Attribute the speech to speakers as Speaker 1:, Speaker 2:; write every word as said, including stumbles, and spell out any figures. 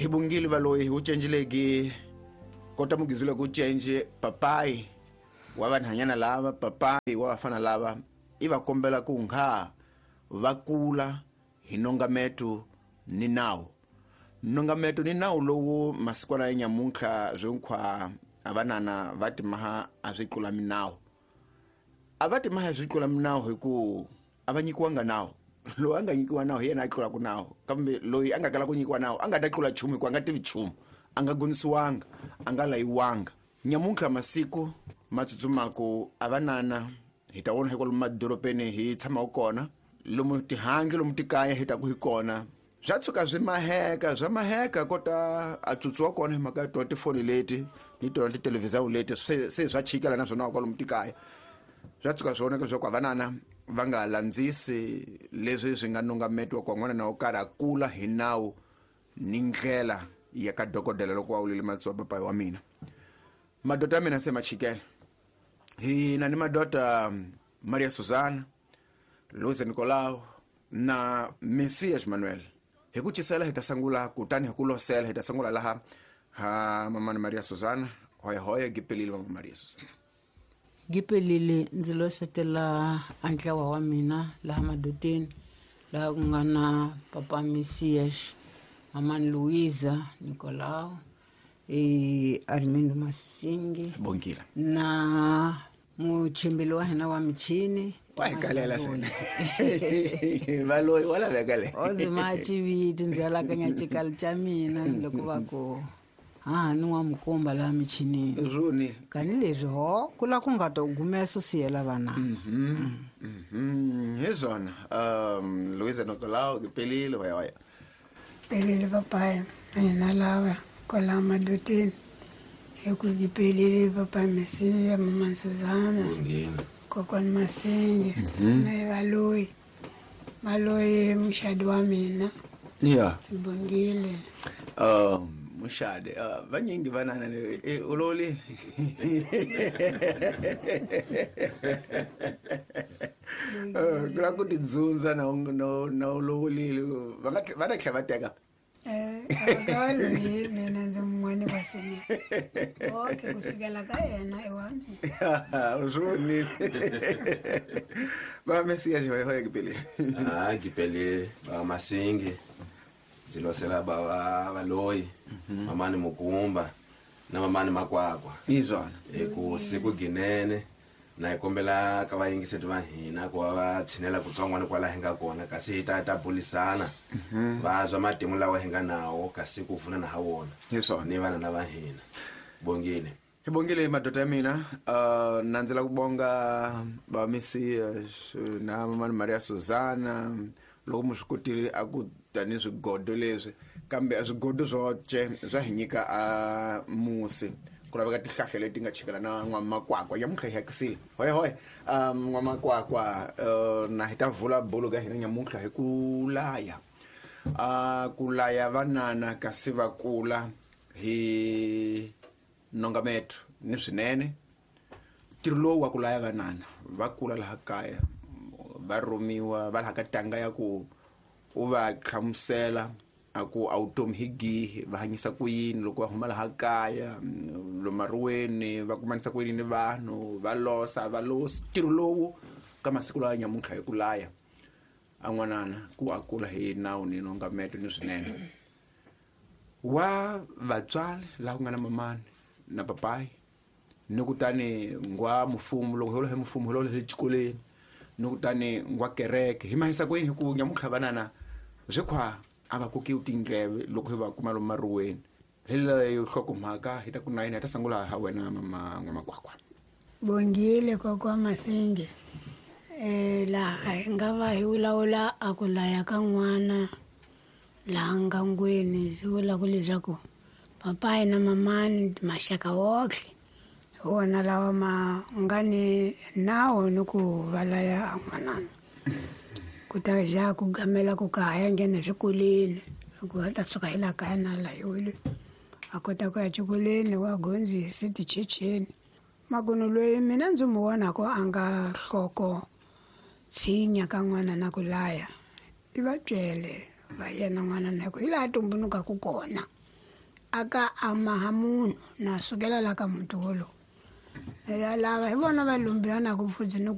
Speaker 1: Hi bongile valoyi wu cenjileki kota mugizule ku cenje papai wa vanhanyana lava papai wa vafana lava i va kombela ku nga va kula hi nongameto ni nawu. Nongameto ni nawu lowu masikwana ya nyamuntlha swinkhwa a vanana va timaha a swi tlula minawu. A va timaha swi tlula minawu hi ku a va nyikiwanga nawu. Loyi a nga nyikiwa nawu hi yena a tlulaka nawu, kambe loyi a nga kala ku nyikiwa nawu a nga ta tlula nchumu hikuva a nga tivi nchumu, a nga gonisiwanga, a nga layiwanga. Nyamuntlha masiku ma tsutsumaku a vanana hi ta vona hi kwalomu madorobeni hi tshamaka kona, lomu tihangi lomu tikaya hi taku hi kona swa tshuka swi maheka swa maheka kota a tsutsuwa kona hi mhaka ya tona tifoni leti ni tona titelevhizani leti se se swa chikela na swona kwalomu tikaya. Swa tshuka swi vonaka leswaku a vanana va nga landzisi leswi swi nga nongametiwa ku n'wana na wo karhi a kula hi nawu ni ndlela ya ka dokodela loko wa wulile matsoho papayi wa mina. Madota ya mina se ma chikela. Hi na ni madota Maria Susana, Luis Nicolau na Messias Manuel. Hi ku cisela hi ta sungula kutani hi ku losela hi ta sungula laha ha mama Maria Susana. Hoya hoya gipelile mama Maria Susana.
Speaker 2: Gipelile ndzi losetela a ntlawa wa mina laha madoteni laha ku nga na papa Messias, mama Luisa Nicolau, e Armindo Masingi
Speaker 1: Bongile
Speaker 2: na muchimbili wa hina wa michini
Speaker 1: wa hi kalela sena valoyi wa laveka le
Speaker 2: o ndzi ma chiviti ndzi alakanya xikalo xa mina loko va ku ha ni wa mukomba laha michinini
Speaker 1: runi
Speaker 2: tanihileswi ho ku la ku nga ta gumesa siyela vana.
Speaker 1: Mhm mhm hi swona. Um Luisa Nicolau gipelile hoya hoya
Speaker 3: pelile papaya hina lava kwala madoteni hi ku gipelile papa Messias, mama Susana, kokwani Masingi na valoyi valoyi muxadi wa mina.
Speaker 1: Yeah.
Speaker 3: Bongile.
Speaker 1: Um muxadi uh, vanyingi vanana e uloli ku la ku tidzundza na na ulovulile va nga va ta tlhela va teka.
Speaker 3: Eh, a mina ndzi mun'wani wa senior. Okay, kusukela ka yena i wa mina.
Speaker 1: U swi vonile. Va Messias hoya hoya gipelile.
Speaker 4: Ah, gipelile va Masingi ndzi losela ba va valoyi mamani Mukumba na mamani Makwakwa.
Speaker 1: Hi swona.
Speaker 4: Hi ku siku ginene na hi kombela ka vayingiseti va hina ku va va tshinela kutsongwana kwala hi nga kona kasi hi ta ta bulisana va zwa matimu lawa hi nga nawo kasi ku pfunana ha wona
Speaker 1: Hi swona.
Speaker 4: ni vana na va hina. Bongile.
Speaker 1: Hi bongile madoda ya mina. Uh, na ndzi la ku bonga va Messias na mama Maria Susana loko mi swi kotile a ku tani swigodo leswi, kambe a swigodo swo ce swa hi nyika a musi ku laveka tihlahla leti nga chikela na n'wamakwakwa nyamuntlha hi hakisile hoya hoya. Um n'wamakwakwa uh, na hi ta vula bolo ka hina nyamuntlha hi ku laya uh, ku laya vanana kasi va kula hi nongameto ni swinene. Ntirho lowu wa ku laya vanana va kula laha kaya va rhumiwa va laha ka tanga ya ku u va hlamusela a ku a vutomi hi gihi va hanyisa ku yini loko va huma laha kaya lomaruweni va kumanisa ku yini ni vanhu va losa va losi. Ntirho lowu ka masiku lawa nyamuntlha hi ku laya a n'wanana ku a kula hi nawu ni nongameto ni swinene wa vatswari laha ku nga na mamani na papayi ni kutani ngwa mfumo loko hi hi mfumo hi lolo hi xikolweni ni kutani ngwa kereke hi mahisa ku yini hi ku nyamuntlha vanana swi khwa a va kokiwi tindleve loko hi va kuma lomu maruweni. Hi leyo nhlokomhaka hi ta ku na yini hi ta sungula ha wena mama N'wamakwakwa.
Speaker 3: Bongile kokwa Masingi. Eh laha hi nga va hi vulavula a ku laya ka n'wana laha ngangweni swi vula ku leswaku papayi na mamani maxaka wohle hi wona lawa ma nga ni nawu ni ku va laya a n'wanana ku ta ja ku gamela ku ka ha ya nghena eswikolweni hikuva a ta suka hi laha kaya na layiwile a kota ku ya xikolweni wa gondzisi tichecheni. Makunu loyi mina ndzi mu vonaka a nga nhloko tshinya ka n'wana na ku laya i va byele va yena n'wana na ku hi laha tumbulukaka kona. a ka a maha munhu na sukela la ka muti wolowo. Lava hi vona va lumbiwa na ku pfudzi ni